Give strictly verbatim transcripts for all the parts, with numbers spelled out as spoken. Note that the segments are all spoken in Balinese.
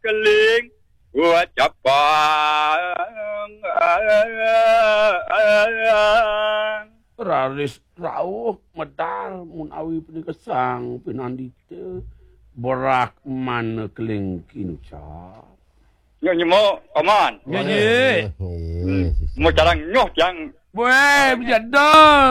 Keling buat capang. Raris rauh medal mun awi punika sang pinandita berak mana keling kinucap. Nyok nyemok, Paman. Nggih, nggih. Mau carang nyoh tiang. Weh, bejada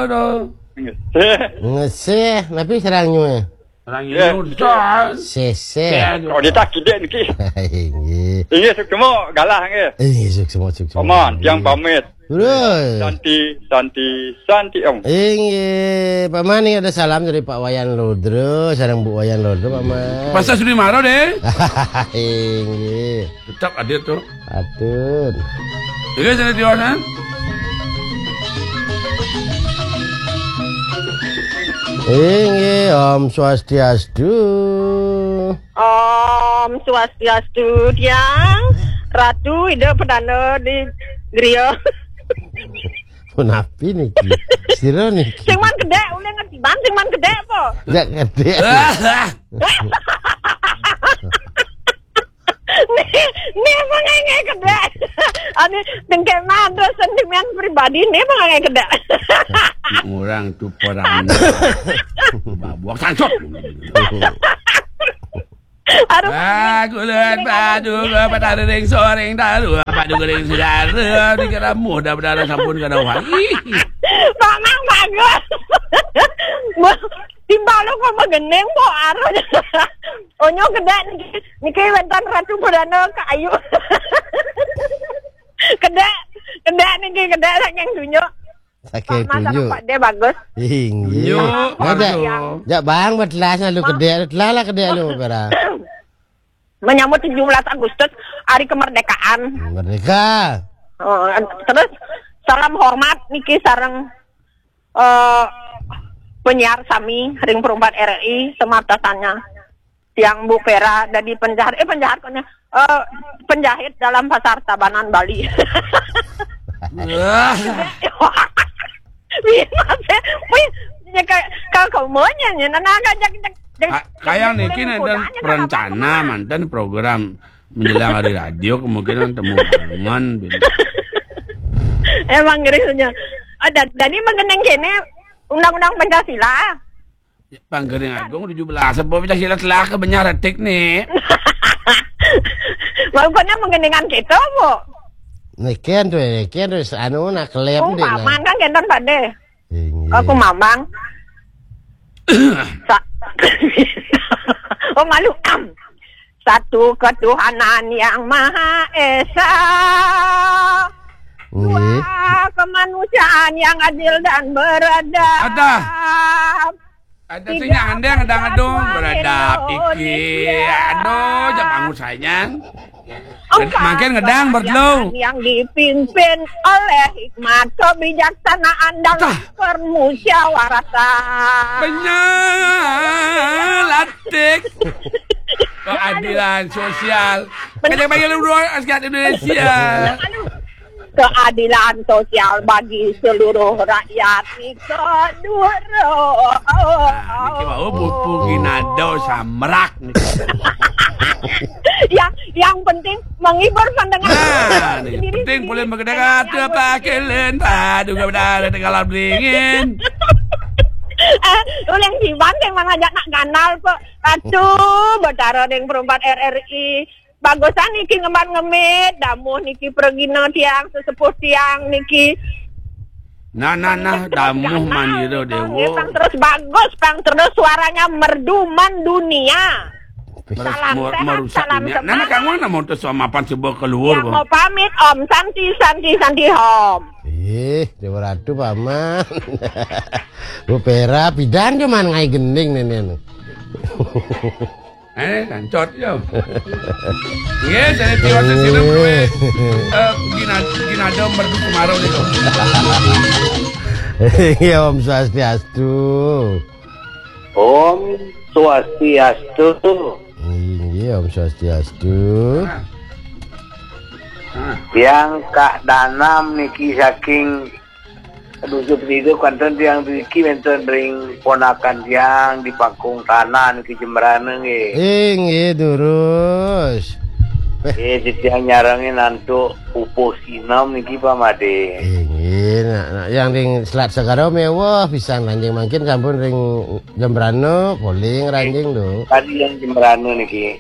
tu. Ngeseh. Ngeseh, tapi sareng nyuh. Sareng nyuh dah. Seseh. Kalau dia tak kidik niki. Inggih. Inggih, suksma galah nggih. Inggih, suksma, suksma. Paman, tiang pamit. Terus. Santi, santi, santi, Om. Inggih, Paman ni ada salam dari Pak Wayan Lodra, sareng Bu Wayan Lodra, Paman. Pasal sudi maro deh. Inggih. Tetap ada tu. Atur. Inggih, santi tiwasan. Inggih, Om Swastiastu. Om Swastiastu, tiang Ratu Ida Perdana di Gria. Punapi niki? Sira niki? Sing man kedek, ulih ngetiban, sing man kedek apa? Ndak kedek. Ni, ni mengenge kedek. Ani, dengke man, terus sentimen pribadi, ni mengenge kedek. Orang tu perang. Babak sangsut. Aduh. Ah, kulit padu, padu ring soring taru, padu ring segara, dikira mudah, padu sampun kada wali. Mamang bagus. Timbal lo kok magening, po, aruh. Onyo kedek niki, niki wénten Ratu Perdana Kayu. Kedek, kedek niki, kedek saking dunya. Saking Pak Mas, tunjuk. Pak De bagus. Inggih. Tunjuk, nah, jak, bagus. Jak bang, betelas lalu kedek, telah lah kedek lu, Pera. Menyambut tujuh belas Agustus, hari kemerdekaan. Merdeka. Oh, terus salam hormat niki sareng, eh, penyiar sami ring perumpat R R I, semata sanya. Tiang Bu Pera dadi penjahat, eh, penjahat kok nya, eh, penjahit dalam pasar Tabanan Bali. Wah. Wih, mas, wih, ya ka, ka kaumanya nya, nah, nah, jak, jak, jak, Ka-, kayang niki nénten perencana manten program menjelang hari radio kemungkinan temu kangen. Emang ngeri nya. Ah, da-, dadi mengeneng kene undang-undang Pancasila. Panggering Agung tujuh belas, sebab Pancasila telah kebenyar retik ni. Mau kena mengenengan kita, Bu. Neken tu, neken tu, anu nak kelem. Oh, dek, nah. Paman kan kenton pade. Inggih. Aku mamang. Sa-, oh, malu. Satu ketuhanan yang Maha Esa. Inggih. Dua kemanusiaan yang adil dan beradab. Ada. Ada sing nyandang, ada ngedung, beradab iki. Aduh, jak bangun sayang. Makin ngedang bertelu. Yang dipimpin oleh hikmat kebijaksanaan dan permusyawaratan. Penyalatik. Keadilan sosial. Kejak bagi lu dua asiat Indonesia. Keadilan sosial bagi seluruh rakyat. Kedua. Nah, niki wau pupu ginado samrak niki. Yang, yang penting menghibur pendengar. Nah, niki penting boleh berkedara tu apa kelen. Aduh, gak benar ada kalau beringin. Eh, uleng jiban teh mana ajak nak ganal kok. Aduh, Betara deng perempat R R I. Bagusan niki ngemban ngemit, damuh niki pragina tiang, sesepuh tiang niki. Nah, nah, nah, damuh manira, Dewa. Pang terus bagus, pang terus suaranya merdu mendunia. Salam sehat, salam semangat. Nah, kamu nak mau terus mapan coba keluar, Bang. Mau pamit, Om Santi, Santi, Santi, Om. Ih, Dewa Ratu, Paman. Bu Pera, pidan cuman ngai gending, nenek. Eh, kancot ya. Nggih, saya tiwas sesirem kowe. Eh, gina-, ginada merdu kemarau niku. Iya, Om Swastiastu. Om Swastiastu. Inggih, Om Swastiastu. Tiang Kak Danam niki saking Aduh, subsidi kantun tiang driki wénten ring ponakan tiang di Pangkung Tanah niki Jembrana nggih. Inggih durus. Eh, titiang nyarengin antuk pupuh sinem niki Pak Madé. Inggih, nak, nak yang ring Selat Segara mewah pisan lanjing mangkin sampun ring Jembrana, poling ranjing do. Tadi yang Jembrana niki.